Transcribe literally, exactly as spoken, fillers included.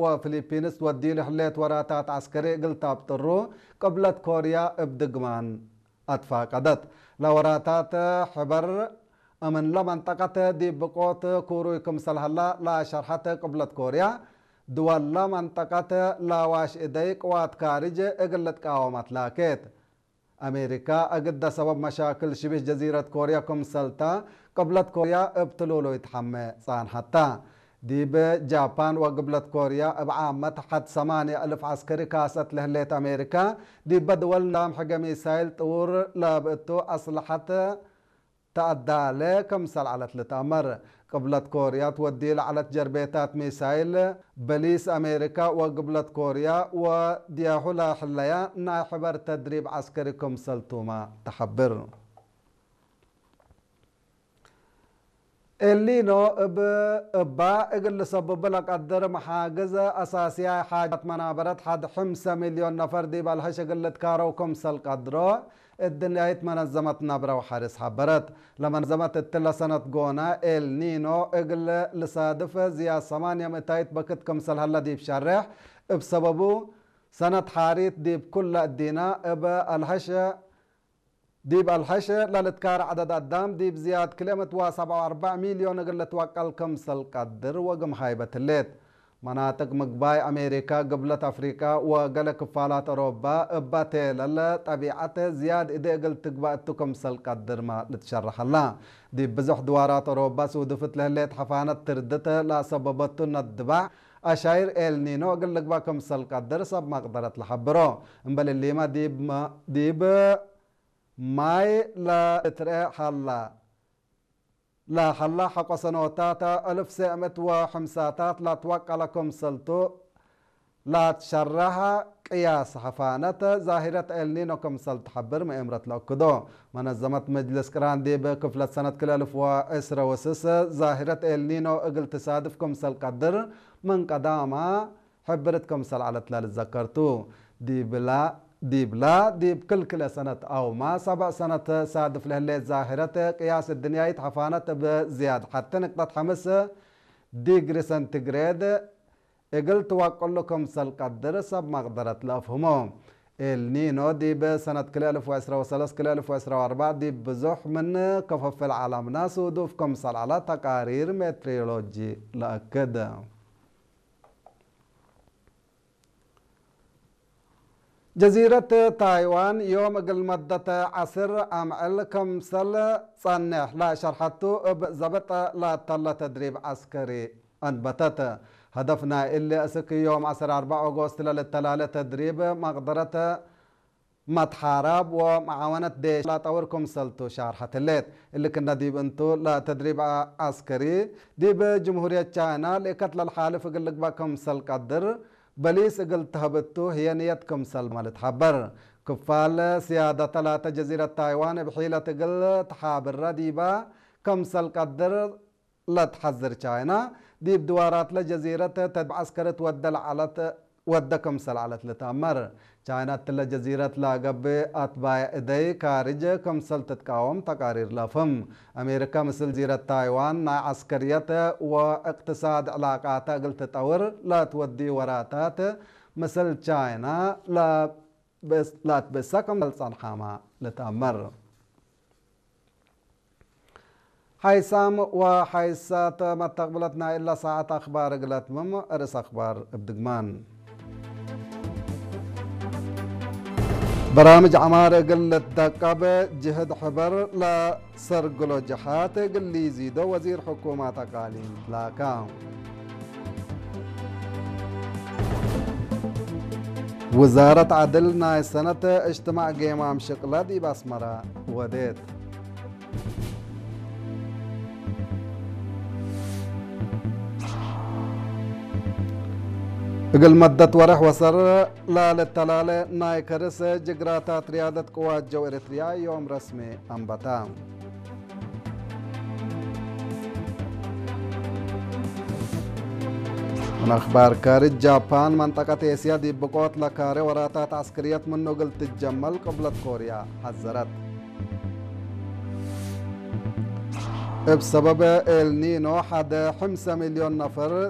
ወፊሊፒንስ ትወድዩ ለህሌት ወራታት ዐስከሪ እግል ታብጥሩ ቅብለት ኮርያ እብ ድግማን አትፋቀደት። ለወራታት ሕበር እምንለ መንጠቀት ዲብ ብቆት ኩሩይ ክምሰል ሀላ ለሸርሐት ቅብለት ኮርያ፣ ድወለ መንጠቀት ለዋሽ እደይ ቅዋት ካርጅ እግል ልትቃወም አትላኬት። አሜሪካ እግደ ሰበብ መሻክል ሽቢህ ጀዚረት ኮርያ ክምሰልተ፣ ቅብለት ኮርያ እብ ትሉሉይ ተሐሜ ጻንሐተ። ዲብ ጃፓን ወግብለት ኮርያ እብ ዓመት ሐድ ሰማንያ እልፍ ዐስከሪ ካሰት ለህሌት አሜሪካ፣ ዲበ ድወል ንዛም ሕገ ሚሳይል ጥውር ለብእቱ አስለሐት ተአዳለ ክምሰል ዐለት ልትአመር። ቅብለት ኮርያ ትወድዩ ለዐለት ጀርቤታት ሚሳይል፣ በሊስ አሜሪካ ወግብለት ኮርያ ወድያሁ ለህለያ ናይ ሕበር ተድሪብ ዐስከሪ ክምሰልቱመ ተሐብር። ኤልኒኖ እብ እባ እግል ልሰብቡ ለቀድር መሓግዝ አሳስያይ ሓጃት መናበረት ሐድ ሕምሰ ሚልዮን ነፈር ዲብ አልሀሽ እግል ልትካረው ክምሰል ቀድሮ እድንያይት መነዘመት ነብረ ወሐርስ ሐበረት። ለመነዘመት እትለ ሰነት ጎነ ኤልኒኖ እግል ልሳድፍ ዝያድ ሰማንያ ምእታይት በክት ክምሰል ሀለ ዲብ ሸሬሕ፣ እብ ሰበቡ ሰነት ሓሪት ዲብ ኩለ እዲነ እብ አልሀሽ ዲብ አልሐሽ ለልትካር ዐደድ አዳም ዲብ ዝያድ ክልኤ ምእት ወሰብዓ ወአርበዕ ሚልዮን እግል ልትወቀል ክምሰል ቀድር ወግም ሃይበት ህሌት። መናጥቅ ምግባይ አሜሪካ፣ ግብለት አፍሪቃ ወገሌ ክፋላት አውሮባ እበ ቴለለ ጠቢዐት ዝያድ እዴ እግል ትግበእ እቱ ክምሰል ቀድርመ ልትሸረሐላ። ዲብ ብዞሕ ድዋራት አውሮባ ሱዱፍት ለህሌት ሐፋነት ትርድት ለአሰበበቱ ነድባዕ አሻይር ኤልኒኖ እግል ልግበእ ክምሰል ቀድር ሰብ መቅደረት ለሐብሮ። እምበል እሊመ ዲብ መ-፣ ዲብ ማይ ለልትርኤ ሀላ፣ ለሀላ ሐቆ ሰኖታት እልፍ ሰዕ ምእት ወሐምሳታት ለትወቀለ ክምሰልቱ ለትሸረሐ ቅያስ ሐፋነት ዛሂረት ኤልኒኖ ክምሰል ተሐብር መኤምረት ለአክዶ። መነዘመት መጅልስ ቅራን ዲብ ክፍለት ሰነት ክልኤ እልፍ ወዕስረ ወስስ ዛሂረት ኤልኒኖ እግል ትሳድፍ ክምሰል ቀድር ምን ቀዳማ ሕብርት ክምሰል ዐለት ለልትዘከር ቱ። ዲብላ፣ ዲብላ፣ ዲብ ክል-ክልኤ ሰነት አውመ ሰብዕ ሰነት ሳድፍ ለህሌት ዛህረት ቅያስ እድንያይት ሐፋነት እብ ዝያድ ሐቲ ንቅጠት ሐምስ ዲግሪ ሰንቲግሬድ እግል ትወቅሉ ክምሰል ቀድር ሰብ መቅደረት ለአፍህሞ። ኤልኒኖ ዲብ ሰነት ክልኤ እልፍ ወዕስረ ወሰለስ ክልኤ እልፍ ወዕስረ ወአርበዕ ዲብ ብዙሕ ምን ከፈፍል ዐለምነ ሱዱፍ ክምሰል ዐለ ተቃሪር ሜትሮሎጂ ለአክድ። ጀዚረት ታይዋን ዮም እግል መደት ዐስር አምዕል ክምሰል ጸንሕ ለሸርሐቱ እብ ዘብጥ ለተለ ተድሪብ ዐስከሪ አንበተት። ሀደፍ ናይ እሊ እስክ ዮም ዐስር አርበዕ ኦጎስት ለልተላለ ተድሪብ መቅደረት መትሓራብ ወመዓወነት ዴሽ ለጠውር ክምሰልቱ ሻርሐት ህሌት። እሊ ክነ ዲብ እንቱ ለተድሪብ ዐስከሪ ዲብ ጅምሁርየት ቻይና ልእከት ለልሓልፍ እግል ልግበእ ክምሰል ቀድር በሊስ እግል ተህብ እቱ ህዬ ንየት ክምሰልመ ልትሐበር። ክፋል ስያደተ ላተ ጀዚረት ታይዋን እብ ሒለት እግል ተሓብረ ዲበ ክምሰል ቀድር ለትሐዝር ቻይና፣ ዲብ ድዋራትለ ጀዚረት ተድብ ዐስከርት ወደ ለዐለት፣ ወደ ክምሰል ዐለት ልትአመር። ቻይና እትለ ጀዚረት ለገብእ አትባየ እደይ ካርጅ ክምሰል ትትቃወም ተቃሪር ለአፍህም። አሜሪካ ምስል ጀዚረት ታይዋን ናይ ዐስከርየት ወእቅትሳድ ዕላቃተ እግል ትጠውር ለትወድዩ ወራታት ምስል ቻይና ለብእስ-፣ ለአትብእሰ ክምሰል ጸንሓመ ልትአመር። ሓይሳም ወሓይሳት መተቅብለት ናይ እለ ሳዐት አክባር እግል አትምም፣ ርእስ አክባር እብ ድግማን። በራምጅ ዐማር እግል ልትደቀብ ጅህድ ሕበር ለሰርግሎ ጀሓት እግል ሊዚዶ ወዚር ሕኩማት አቃሊም ላካ። ውዛረት ዐድል ናይ ሰነት እጅትማዕ ጌማም ሽቅለ ዲብ አስመረ ወዴት። እግል መደት ወርሕ ወሰር ለልተላለ ናይ ከርስ ጅግራታት ርያደት ቅዋት ጀው ኤረትርያ ዮም ረስሜ አንበታ። ምን አክባር ካርጅ፣ ጃፓን መንጠቀት ኤስያ ዲብ ብቆት ለካሬ ወራታት ዐስክርየት ምኑ እግል ትጀመል ቅብለት ኮርያ ሐዘረት። እብ ሰበብ ኤልኒኖ ሐደ ሕምሰ ሚልዮን ነፈር